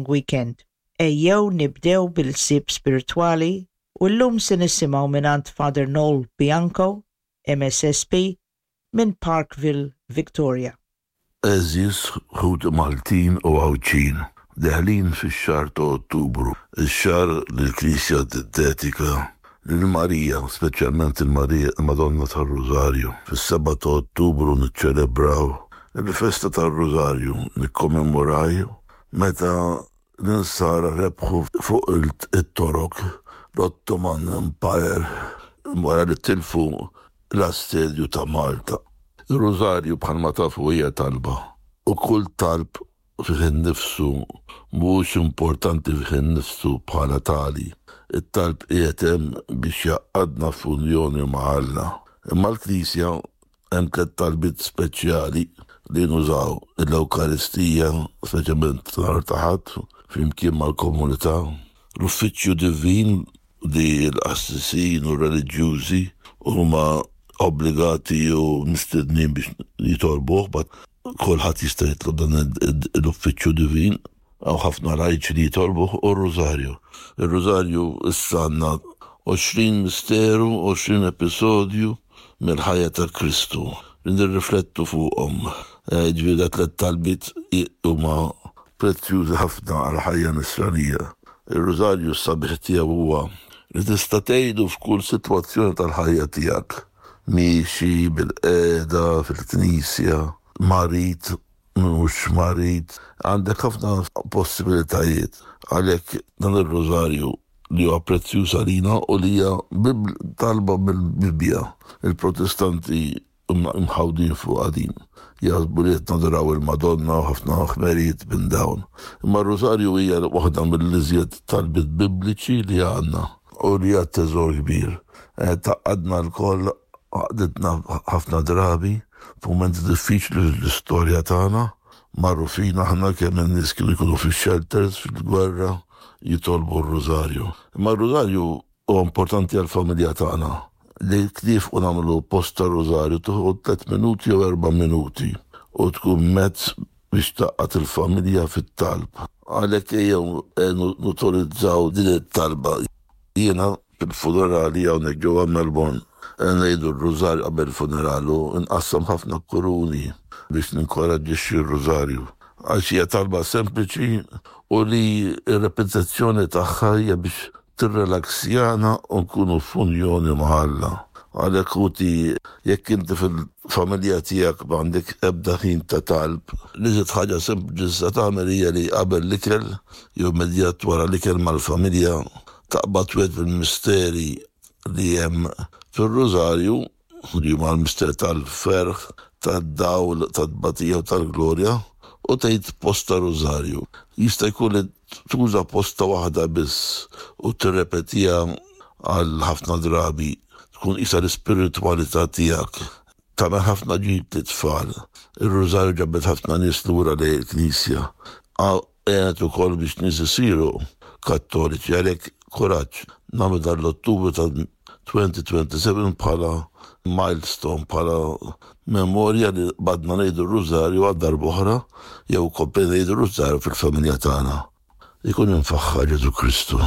Weekend. Ejjew nibdew bil-ħsieb spiritwali u llum se nisimgħu mingħand Father Noel Bianco, MSSP, minn Parkville, Victoria. Għeżież ħuti Maltin u Għawdxin, deħlin fix-xahar ta' Ottubru, ix-xahar li l-Knisja tiddedika lil Marija, speċjalment il-Marija il-Madonna tar-Rużarju. Fis-sebgħa ta' Ottubru niċċelebraw il-festa tar-Rużarju, nikkommemoraw meta l-Insara rebħu fuq it-Torok, l-Ottoman Empire, wara li tilfu l-assedju ta' Malta. Ir-Rużarju bħalma tafu hija talba u kull talb fih innifsu mhuwiex importanti fih innifsu bħala tali. It-talb qiegħed hemm biex jgħaqqadna f'unjoni ma' Alla. Imma l-Knisja hemm tlett talbiet speċjali li nużaw, l-Ewkaristija, speċjalment nhar ta' Ħadd, flimkien mal-komunità, l-Uffiċċju Divin li l-qassisin u r-reliġjużi huma obbligati u mistednin biex jitolbuh, but kulħadd jista' jitlob dan l-uffiċċju divin, hawn ħafna lajċi li jitolbuh, u r-Rużarju. Ir-Rużarju issa għandna 20 misteru, 20 episodju mill-ħajja ta' Kristu li nirriflettu fuqhom. Jiġifieri da tlett talbiet huma prezzjużi ħafna għall-ħajja nisranija. Ir-Rużarju s-sabiħ tiegħu huwa li tista' tgħidu f'kull sitwazzjoni tal-ħajja tiegħek, miexi, bilqiegħda, fil-knisja, marid, mhux marid, għandek ħafna possibilitajiet. Għalhekk dan ir-Rużarju li huwa prezzjuż għalina u li hija talba mill-Bibbja. Il-Protestanti mħawdin fuqha din. Jaħsbu li qed nadoraw il-Madonna u ħafna ħmerijiet minn dawn. Imma r-Rużarju hija waħda mill-iżjed talbiet Bibliċi li għandna u li hija teżor kbir. Tgħaqqadna lkoll, għaqqditna ħafna drabi f'mumenti diffiċli fl-istorja tagħna. Magħrufin aħna kemm in-nies kienu jkunu fix-shelters fil-gwerra jitolbu r-Rużarju. Imma r-Rużarju Huwa importanti għall-familja tagħna li niefqu nagħmlu post tar-Rużarju tieħu tlett minuti jew erba' minuti u tkun mezz biex tgħaqqad il-familja fit-talb. Għalhekk ejjew nutilizzaw din it-talba. Jiena fil-funerali hawnhekk ġewwa Melbourne ngħidu r-Rużarju qabel il-funeral u nqassam ħafna kuruni biex ninkoraġġixxi r-Rużarju għax hija talba sempliċi u li r-repetizzjoni tagħha hija biex tirrelaxjana u nkunu f'unjoni ma' Alla. Għalhekk ħuti, jekk inti fil-familja tiegħek m'għandek ebda ħin ta' talb, l-iżjed ħaġa sempliċi tista' tagħmel hija li qabel l-ikel jew immedjat wara l-ikel mal-familja taqbad wieħed mill-misteri li hemm fir-Rużarju, li huma l-misteru tal-ferħ, tad-dawl, tat-tbatija u tal-glorja, u tgħid posta rużarju. Jista' jkun li tuża posta waħda biss u tirrepetiha għal ħafna drabi, tkun qisha l-ispiritwalità tiegħek. Tagħmel ħafna ġid lit-tfal. Ir-rużarju ġabet ħafna nies lura lejn il-Knisja. Għenet ukoll biex nies isiru Kattoliċi għalhekk kuraġġ nagħmlu dan l-Ottubru ta' 2027 bħala milestone, bħala memorja li qbadna ngħidu r-Rużarju għal darb'oħra jew komplejna ngħidu r-Rużarju fil-familja tagħna. Ikun imfaħħar Ġesù Kristu.